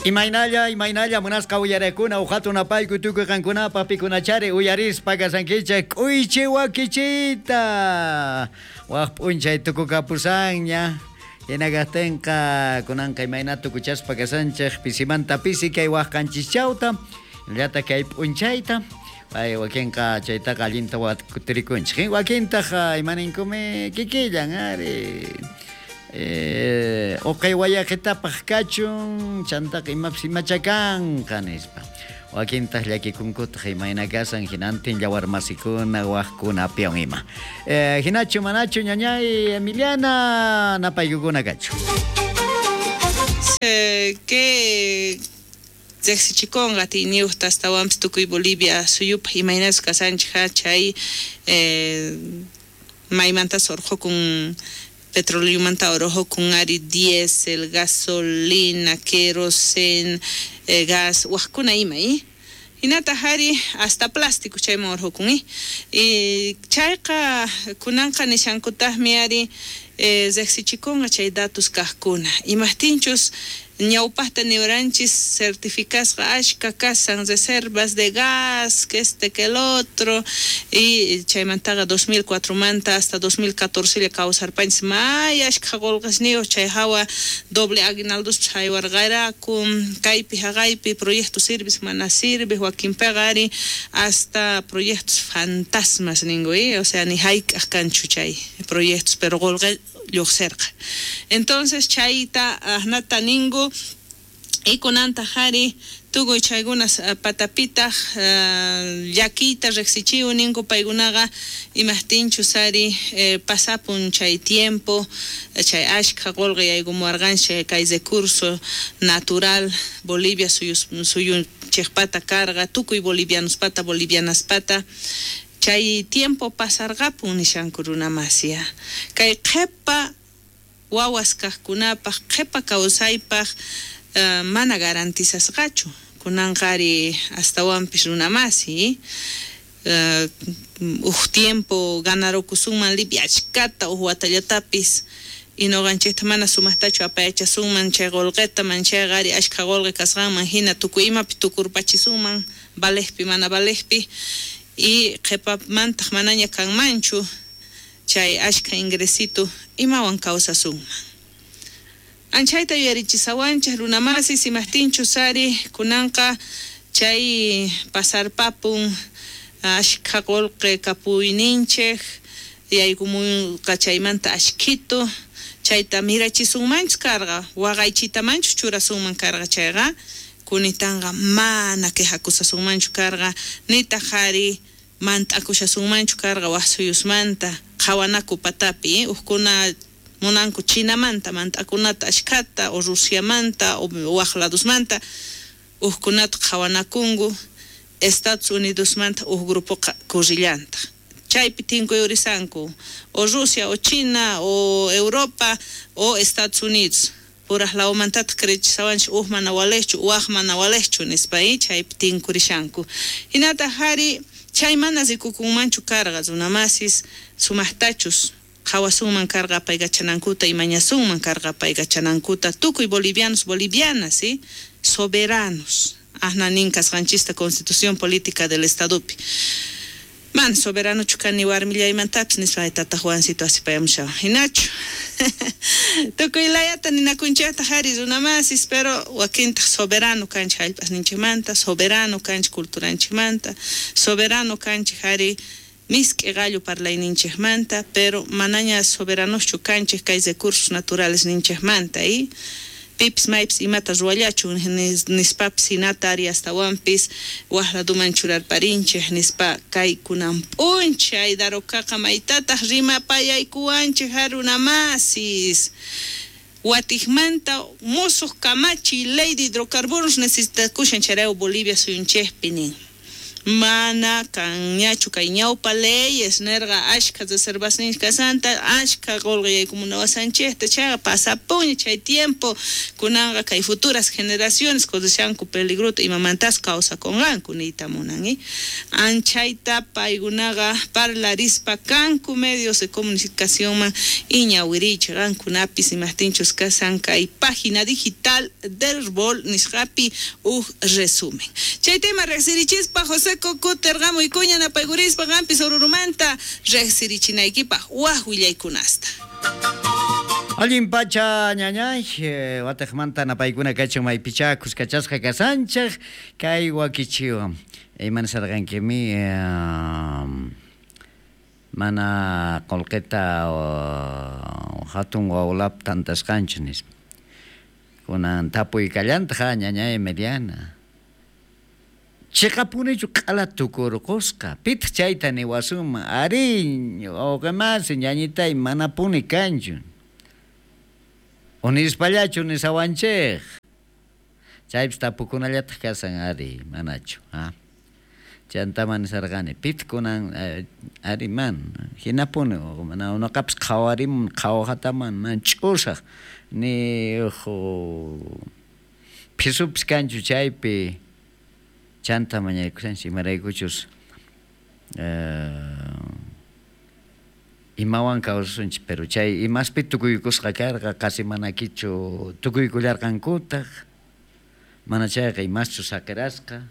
Imaynalla, imaynalla munasqa uyarekuna uqatu napayku tukuy qankunapaq pikunachari uyarispa kashankichej k'uychi wakichiyta. Waj p'unchay tukukapusanña. Hina kajtinqa kunanqa imayna tukuchaspa kashanchej pisimanta pisi kay waj qanchischawta, llata kay p'unchayta. Ay, wakinqa chaytaqa allinta watirikunchej. Wakintaq imaninkumi kikillan ari. Uqay wayaqitapaq kachun, chantaqa imapis imachakanqa nispa. Wakintaq llakikunkutaq imayna kasan hinantin llawarmasikuna wajkunapiwan ima. Hinachu manachu ñañay Emiliana napaykukuna kachu. Que riqsichikunqa atiyniyuqta astawanpis tukuy Bolivia suyupaq imaynachu kasanchik chay maymantas urqhukun petroleomanta urqhukun ari diésel, gasolina, querosén, gas, wajkuna ima hinataq ari hasta plástico chayman urqhukun y chayqa kunanqa nishankutaqmi ari riqsichikunqa chay datos kaqkuna imaqtinchus ñawpaqta niwaranchis certificasqa ashka kasan reservas de gas que este que el otro y chaymantaqa 2004 manta hasta 2014 lla kawsarpanchis may ashka qullqisniyuq chay hawa doble aguinaldospas haywarqaraku kaypi haqaypi proyecto sirves mana sirve wakinpiqa ari hasta proyectos fantasmas ninku o sea ni hayk'aq kanchu chay proyectos pero qullqi lluqsirqa. Entonces chayta asnata ninku y kunantaq ari tukuy chaykunas patapitaq llakiyta riqsichiw ninku paykunaqa imaqtinchus ari pasapun chay tiempo chay ashka qullqi yaykumuwarqanchik kay recurso natural Bolivia suyunchikpata karqa tukuy bolivianospata bolivianaspata chay tiempo pasarqapun nishanku runamasiya kay qhipa wawas kaqkunapaq qhipa kawsaypaq mana garantizasqachu kunanqa ari astawanpis runamasi uj tiempo ganarukusunman lipiachkata uj watallatapis y nuqanchikta mana sumaqtachu apayachasunman chay qullqita manchayqa ari ashka qullqi kasqanman hina tukuy imapi tukurpachisunman valejpi mana valejpi y qhipamantaq manaña kanmanchu chay ashka ingresito imawan kawsasunman. Anchayta yuyarichisawanchik runamasis imaqtinchus ari kunanqa chay pasarpapun ashka qullqi kapuyninchik yaykumunqa chaymanta ashkito chayta mirachisunmanchu karqa waqaychitamanchu churasunman karqa chayqa kunitanqa mana quejakusasunmanchu karqa nitaq ari mant'akushasunmanchu karqa waj suyusmanta qhawanaku patapi uqkuna munanku Chinamanta mant'akunata ashkata o Rusiamanta o waj ladusmanta uqkunata qhawanakunku Estados Unidosmanta uj grupoqa kurrillantaq chaypi tinkuyurisanku o Rusia o China o Europa o Estados Unidos puraj lawmantataq creechisawanchik uj mana walejchu waj mana walejchu nispa chaypi tinkurishanku hinataq ari chay mana rikukunmanchu karqa runamasis sumaqtachus qhawasunman karqa apaykachanankuta imañasunman karqa apaykachanankuta tukuy bolivianos bolivianas soberanos asna nin kasqanchista Constitución Política del Estadopi mana soberanochu kani warmillaymantapis nispa tata Juancito asipayamushawan hinachu tukuy layata ninakunchikta ari runamasis pero wakintaq soberano kanchik hallp'asninchikmanta soberano kanchik culturanchikmanta soberano kanchik ari misk'i qallu parlayninchikmanta pero manaña soberanochu kanchik kay recursos naturales ninchikmanta pipis maypis imata ruwallachun nispapis hinata ari astawanpis waj laduman churarparinchik nispa kay kunan p'unchay Darocaqa maytataq rimapayaykuwanchik runamasis watikmanta musuq kamachiy ley de hidrocarburos necesitakushan chayrayku Bolivia suyunchikpi nin. Mana kanñachu kay ñawpa leyes nerqa ashkha reservasninchik kasanta, ashkha qolqe yaykumunawashanchikta, chayqa pasapunña chay tiempo. Kunanqa kay futuras generaciones correshanku peligrota imamantas kawsakunqanku niyta munan. Anchayta paykunaqa parlarispa kanku medios de comunicacionman iñawirichik qankunapis imajtinchus kasan kay página digital del RVOL nisqapi uj resumen. Chay tema riqsirichispa José Cocuterqamuykuña napaykurispa qampis Orurumanta riqsirichinaykipaq waj willaykunasta. Allin pacha ñañay, watejmanta napaykuna kachun maypichá kuskachasqa kasanchej kay wakichiwan. Imana sarqankimi mana qolqeta hatun wawlap tantasqanchu nispa. Kunan tapuy kallantaq ñañay Meliana. Chiqapunichu q'ala tukurqusqa, pitaq chayta niwasunman, arí, wawqimasi ñañitay manapuni kanchu. Unispallachu nisawanchik. Chaypis tapukunallataq kasan ari, manachu, ha? Chantama nisarqani, pitaq kunan ari man, hinapuni, mana unaqapis qhawarimun, qhawajataman, man ch'usaq, ni phisupis kanchu chaypi. Chanta mañaykushanchik imaraykuchus imawan kawsasunchik, pero chay imaspi tukuykusqa karqa, qasi manakichu tukuykullarqankutaq, mana chayqa imaschu saqirasqa,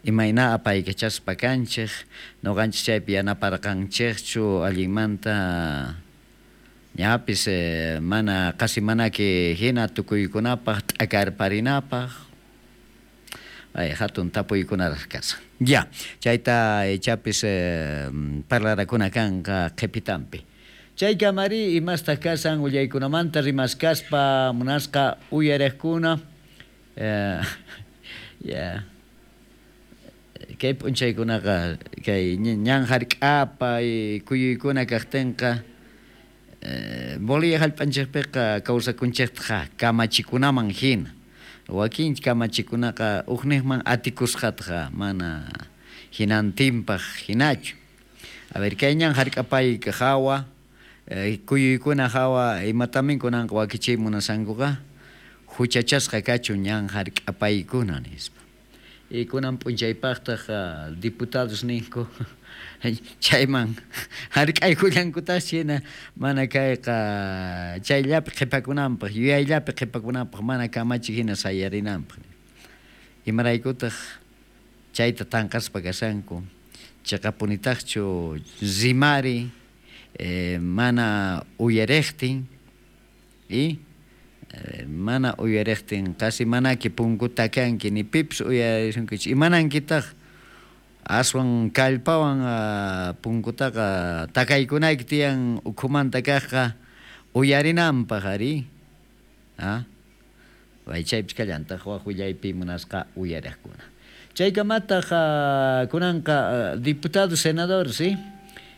imayna apaykachaspa kanchik, nuqanchik chaypi yanaparqanchikchu allinmanta ñapis mana qasi manaki hina tukuykunapaq t'akarparinapaq. Ay, hatun tapuykunaraq kasan. Ya, chayta ichapis parlarakuna kanqa qhipitanpi. Chaykamari imastaq kasan willaykunamanta rimaskaspa munasqa uyariqkuna. Ya. Kay p'unchaykunaqa kay ñan hark'apa kuyuykuna kaqtinqa Bolivia hallp'anchikpiqa kawsakunchiktaqa kamachikunaman hina. Wakin kamachikunaqa uqniqman atikusqataqa mana hinantinpaq hinachu. A ver, kay ñan hark'apay hawa, kuyuykuna hawa imatamin kunanqa wakichiy munasankuqa huchachasqa kachun ñan hark'apaykuna nispa. Y kunan p'unchaypaqtaq diputados ninku chayman hark'aykullankutaq hina mana kayqa chayllapi qhipakunanpaq, yuyayllapi qhipakunanpaq mana kamachik hina sayarinanpaq. Imaraykutaq chayta tanqaspa kashanku, chiqapunitaqchu rimari mana uyariqtin y mana uyariqtin qasi manaki punkuta kanki ni pipis uyarisunkichu imanankitaq aswan kallpawan punkutaqa takaykunayki tiyan ukhumanta kaqqa uyarinanpaq ari, ah, chaypis kallantaq waq willaypi munasqa uyariqkuna. Chaykamataq kunanqa diputados, senadores, ¿sí?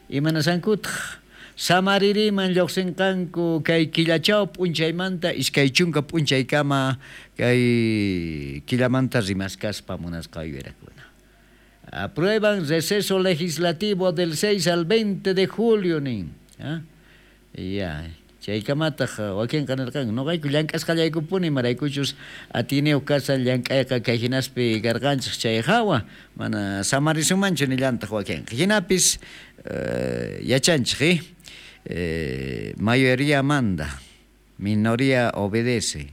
Imanasankutaq samaririman lluqsinqanku kay killachaw p'unchaymanta iskay chunka p'unchaykama kay killamanta rimaskaspa munasqa uyariqkuna. Aprueban receso legislativo del 6 al 20 de julio nin. ¿Ah? Ya, chaykamataq wakinqa nirqanku nuqayku llank'asqallaykupuni imaraykuchus atiniyuq kasan llank'ayqa kay hinaspi karqanchik chay hawa mana samarisumanchu nillantaq wakinqa. Hinapis yachanchik, mayoría manda, minoría obedece.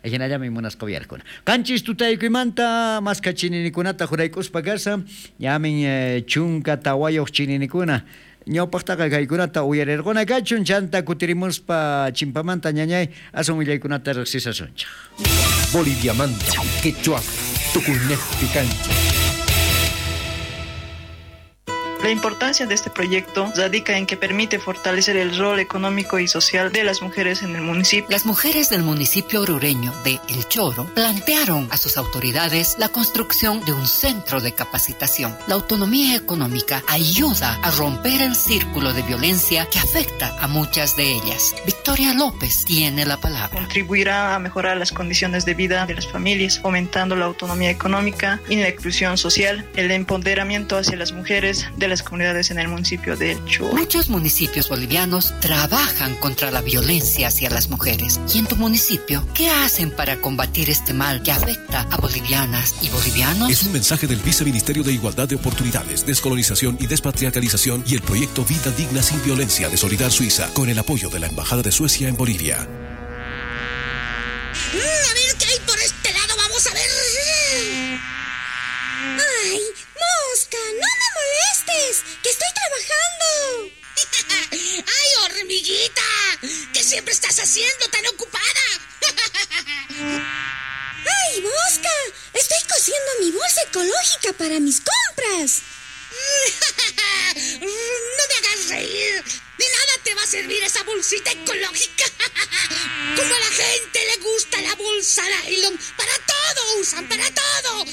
Hinallami munasqa uyariqkuna. Qanchis tutaykuymanta maska chininikunata juraykuspa kasa, ñamin chunka tawayuq chininikuna. Ñawpaqtaqa kaykunata uyarirquna kachun, chanta kutirimuspa chimpamanta ñañay aswan willaykunata riqsisasunchik. Boliviamanta, quechua, tukuynejpi kanchik. La importancia de este proyecto radica en que permite fortalecer el rol económico y social de las mujeres en el municipio. Las mujeres del municipio orureño de El Choro plantearon a sus autoridades la construcción de un centro de capacitación. La autonomía económica ayuda a romper el círculo de violencia que afecta a muchas de ellas. Victoria López tiene la palabra. Contribuirá a mejorar las condiciones de vida de las familias, fomentando la autonomía económica y la inclusión social, el empoderamiento hacia las mujeres de las comunidades en el municipio de El Choro. Muchos municipios bolivianos trabajan contra la violencia hacia las mujeres. ¿Y en tu municipio qué hacen para combatir este mal que afecta a bolivianas y bolivianos? Es un mensaje del Viceministerio de Igualdad de Oportunidades, Descolonización y Despatriarcalización y el proyecto Vida Digna sin Violencia de Solidar Suiza, con el apoyo de la Embajada de Suecia en Bolivia. A ver qué hay por este lado, vamos a ver. ¡Ay, mosca! ¡No me molestes! ¡Que estoy trabajando! ¡Ay, hormiguita! ¿Qué siempre estás haciendo tan ocupada? ¡Ay, mosca! Estoy cosiendo mi bolsa ecológica para mis compras. ¡No me hagas reír! De nada te va a servir esa bolsita ecológica. Como a la gente le gusta la bolsa nylon, para todo usan, para todo.